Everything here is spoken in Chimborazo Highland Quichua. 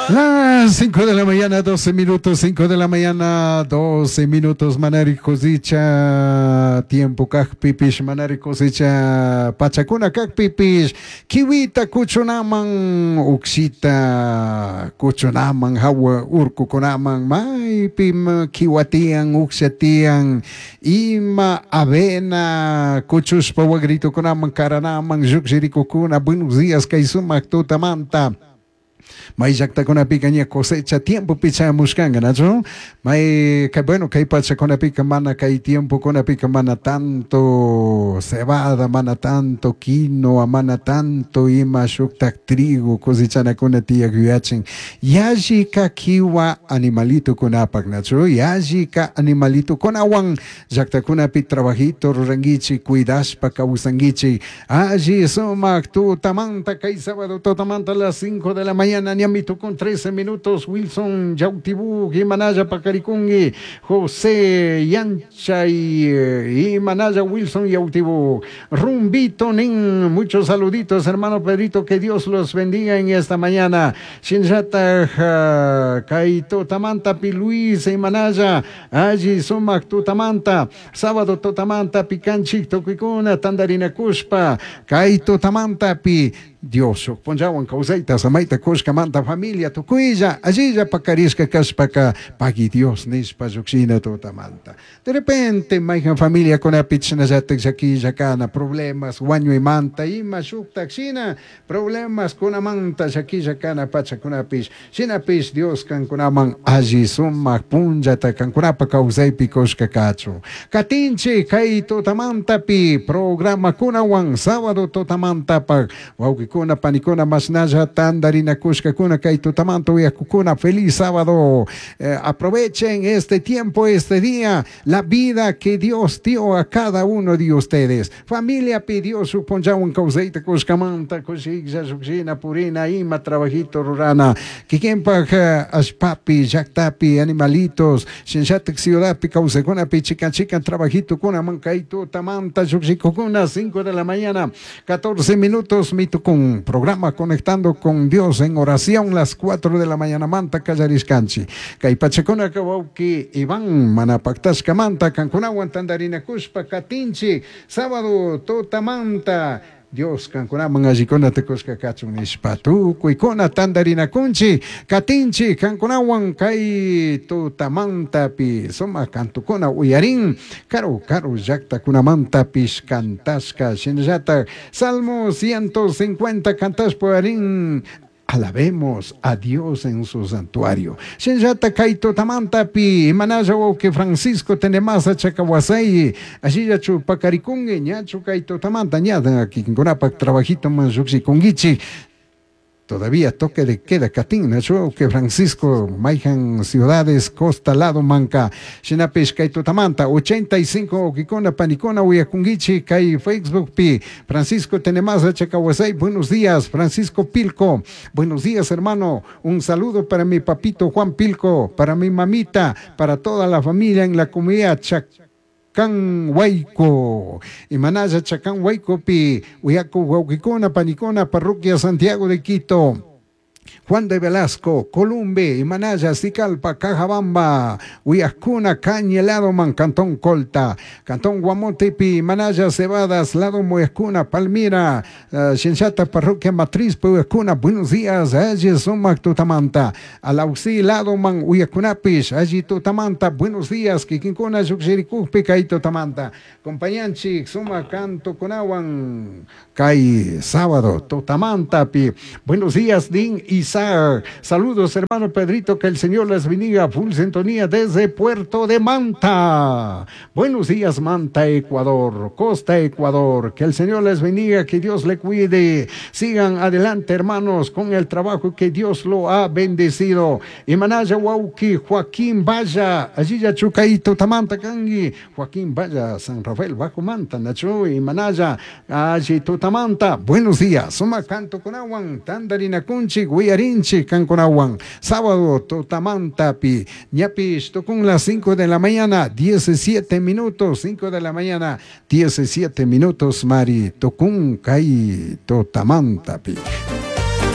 Las 5 de la mañana, 12 minutos, 5 de la mañana, 12 minutos, manari cosecha, tiempo kajpipish, manari cosecha, pachakuna kajpipish, kiwita kuchunaman, uksita kuchunaman, hawa urkukunaman, maypi kiwatian, uksatian, ima avena, kuchushpa wagritukunaman, karanaman, llukshirikukuna, buenos días, kay sumak tutamanta. May llaqtakunapika ña cosecha tiempopi chayamushkanka, nachu? May, kay, bueno, kay pachakunapika mana kay tiempokunapika mana tanto cebada, mana tanto quinoa, mana tanto ima shuktak trigo cosechanakuna tiyak yuyachin. Yallika kiwa animalitukunapak, nachu? Yallika animalitukunawan llaqtakunapi trabajito rurankichik, cuidashpa kawsankichik. Alli sumak tutamanta kay sábado tutamanta a las 5 de la mañana ñamito con 13 minutos, Wilson Yautibú, Imanaya Pacaricungui, José Yanchay, Imanaya Wilson Yautibú, Rumbito Nin, muchos saluditos, hermano Pedrito, que Dios los bendiga en esta mañana. Shinjata, Kaito Tamanta, Piluis, Imanaya, Allí Sumac Tutamanta, sábado Tutamanta, Picanchik, Toquicuna, Tandarina Cuspa, Kaito Tamanta, Pi, Dios, punllawan kawsayta samayta kushkamanta familia tukuylla allilla pakarishka kashpaka pagui Dios nishpa llukshina tutamanta. De repente mayhan familiakunapi chashnallatak llakilla kana problemas wañuymanta ima shuktak shina problemas kunamanta llakilla kana pachakunapish shinapish Dios kankunaman alli sumak punllata kankunapa kawsaypi kushka kachun. Katinchik kay tutamantapi programakunawan sábado tutamantapak wawqikuna panikuna mashnalla tandarinakushkakuna kay tutamanta uyakukuna feliz sábado. Aprovechen este tiempo, este día, la vida que Dios dio a cada uno de ustedes. Familia pidió su punllawan kawsayta kushkamanta kushiklla llukshina purina ima trabajito rurana kikinpak allpapi llaktapi animalitos shinllatak ciudadpi kawsaykunapi chikan chikan trabajito kunaman kay tutamanta llukshikukuna 5 de la mañana 14 minutos mitukun programa Conectando con Dios en oración las 4 de la mañana manta kallarishkanchik kay pachakuna wawki Iván manapaktashkamanta kankunawan tandarinakushpa katinchik sábado tutamanta Dios kankunaman allikunata kushka kachun nishpa tukuykuna tandarinakunchik katinchik kankunawan kay tutamantapi sumak kantukuna uyarin karu karu llaktakunamantapish kantashka shinallatak Salmo 150 kantashpa uyarin. Alabemos a Dios en su santuario. Shinllata kay tutamantapi imanalla wawqi Francisco Tenemasa Chacawasay ashillachu pakarikunki ñachu kay tutamanta ña kikinkunapak trabajito man llukshikunkichik. Todavía toque de queda katin, nachu que Francisco mayhan ciudades costa lado manka shinapish kay tutamanta 85 wawqikuna panikuna uyakunkichik kay Facebook pi Francisco Tenemasa Chacawasay, buenos días Francisco Pilco, buenos días hermano, un saludo para mi papito Juan Pilco, para mi mamita, para toda la familia en la comunidad Chacan Huayco, Imanaya Chacan Huayco pi uyaku wawqikuna panikuna parroquia Santiago de Quito. Juan de Velasco, Columbe, Imanaya, Sicalpa, Cajabamba, Uyascuna, Cañeladoman, Cantón Colta, Cantón Guamotepi, Imanaya, Cebadas, Lado Muyascuna, Palmira, Shinchata, Parroquia Matriz, Uyascuna, buenos días, allí Sumac, Tutamanta, Alauxi, Ladoman, Uyascunapish, allí Tutamanta, buenos días, Kikinkuna, Yuxiricujpi, Kay Tutamanta, Compañanchik, Sumac, Canto, Kunawan, Kay, sábado, Tutamantapi, buenos días, Din, Isaac Isaac. Saludos, hermano Pedrito, que el Señor les bendiga. Full sintonía desde Puerto de Manta. Buenos días, Manta, Ecuador, Costa, Ecuador. Que el Señor les bendiga, que Dios le cuide. Sigan adelante, hermanos, con el trabajo que Dios lo ha bendecido. Y Manaya Wauki, Joaquín Vaya, allí ya Chucaito, Tamanta Kangi, Joaquín Vaya, San Rafael, Bajo Manta, Nacho y Manaya, allí Tutamanta. Buenos días, Suma Canto Conawan, Tandarina Kunchi, Guiarinchi, Canconawan. Sábado, Tutamanta, Pi, Ñapish, Tocún las 5 de la mañana, 17 minutos, 5 de la mañana, 17 minutos, Mari, Tocún, Kai, Totamanta, Pi.